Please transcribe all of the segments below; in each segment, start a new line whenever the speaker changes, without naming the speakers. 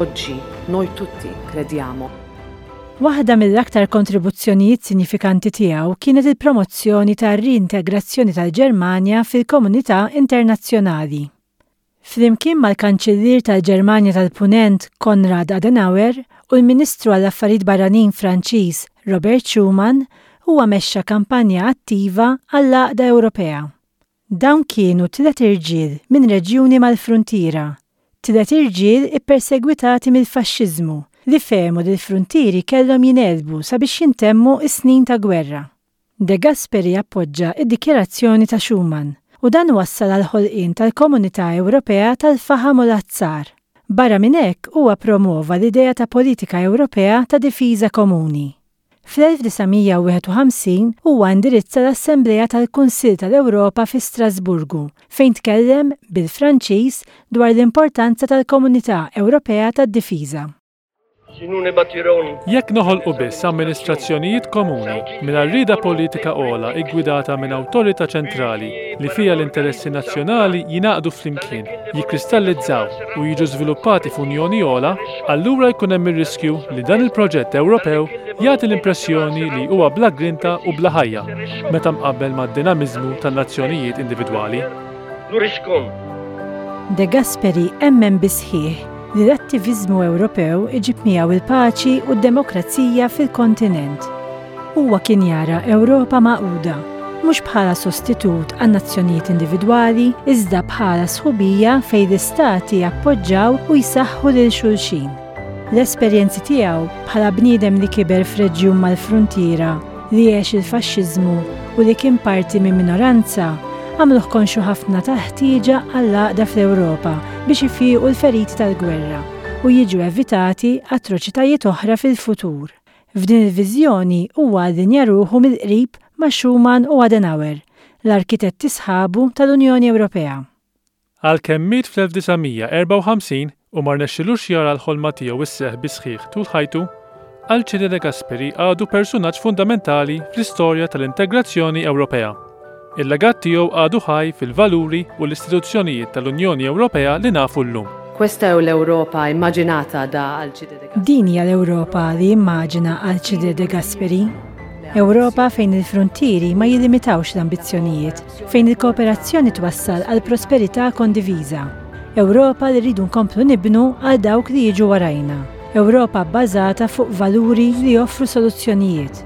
Oggi noi tutti crediamo.
Waħda mill-aktar kontribuzzjonijiet sinjifikanti tiegħu kienet il-promozzjoni tar-riintegrazzjoni tal-Ġermanja fil-komunità internazzjonali. Flimkien mal-Kanċillier tal-Ġermanja tal-Punent Konrad Adenauer u l-Ministru għall-Affarijiet Barranin Franċiż Robert Schuman, huwa mexxa kampanja attiva għall-għaqda Ewropea. Dawn kienu tliet irġiel minn reġjuni mal-fruntiera, tliet irġiel ippersegwitati mill-faxxiżmu li fehmu li l-fruntieri kellhom jingħelbu sabiex jintemmu s-snin ta' gwerra. De Gasperi appoġġa d-dikjarazzjoni ta' Schuman u dan wassal għall-ħolqien tal-Komunità Ewropea tal-Faħam u l-Azzar. Barra minn hekk huwa ppromwova l-idea ta' politika Ewropea ta' difiża komuni. Fl-1951 huwa indirizza l-Assemblea tal-Kunsill tal-Ewropa fi Strasburgu fejn tkellem, bil-Franċiż, dwar l-importanza tal-Komunità Ewropea tad-Difiża.
Jekk noħolqu biss amministrazzjonijiet komuni mingħajr rieda politika ogħla ggwidata minn awtorità ċentrali li fiha l-interessi nazzjonali jingħaqdu flimkien, jikkristallizzaw u jiġu żviluppati f'unjoni ogħla, allura jkun hemm ir-riskju li dan il-proġett Ewropew jagħti l-impressjoni li huwa bla grinta u bla ħajja meta mqabbel mad-dinamiżmu tan-nazzjonijiet individwali.
De Gasperi emmen bis-sħiħ li l-attiviżmu Ewropew iġib miegħu l-paċi u d-demokrazija fil-kontinent. Huwa kien jara Ewropa magħquda, mhux bħala sostitut għan-nazzjonijiet individwali iżda bħala sħubija fejn l-istati jappoġġaw u jsaħħu lil xulxin. L-esperjenzi tiegħu bħala bniedem li kiber f'reġjun mal-fruntiera, li għex il-faxxiżmu u li kien parti minn minoranza, għamluh konxju ħafna tal-ħtieġa għall-għaqda fl-Ewropa biex ifiequ l-feriti tal-gwerra u jiġu evitati atroċitajiet oħra fil-futur. F'din il-viżjoni huwa allinja ruħu mill-qrib ma' Schuman u Adenauer, l-arkitetti sħabu tal-Unjoni Ewropea.
Għalkemm miet fl-1954 u ma rnexxilux jara l-ħolma tiegħu sseħħ bis-sħiħ tul ħajtu, Alcide De Gasperi għadu persunaġġ fundamentali fl-istorja tal-integrazzjoni Ewropea. Il-legat tiegħu għadu ħaj fil-valuri u l-istituzzjonijiet tal-Unjoni Ewropea li nafu llum.
Questa è l'Europa immaginata da Alcide De Gasperi.
Din hija l-Ewropa li immaġina Alcide De Gasperi. Ewropa fejn il-fruntieri ma jillimitawx l-ambizzjonijiet, fejn il-kooperazzjoni twassal għal prosperità kondiviża. Ewropa li rridu nkomplu nibnu għal dawk li jiġu warajna. Ewropa bbażata fuq valuri li joffru soluzzjonijiet.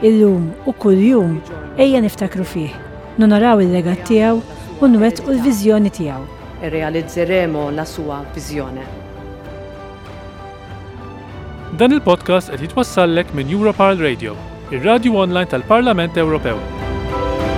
Illum u kuljum ejja niftakru fih, nonoraw il-legat tiegħu u nwettqu l-viżjoni tiegħu.
E realizzeremo la sua visione.
Dan il-podcast qed jitwassallek minn Europarl Radio, ir-radju online tal-Parlament Ewropew.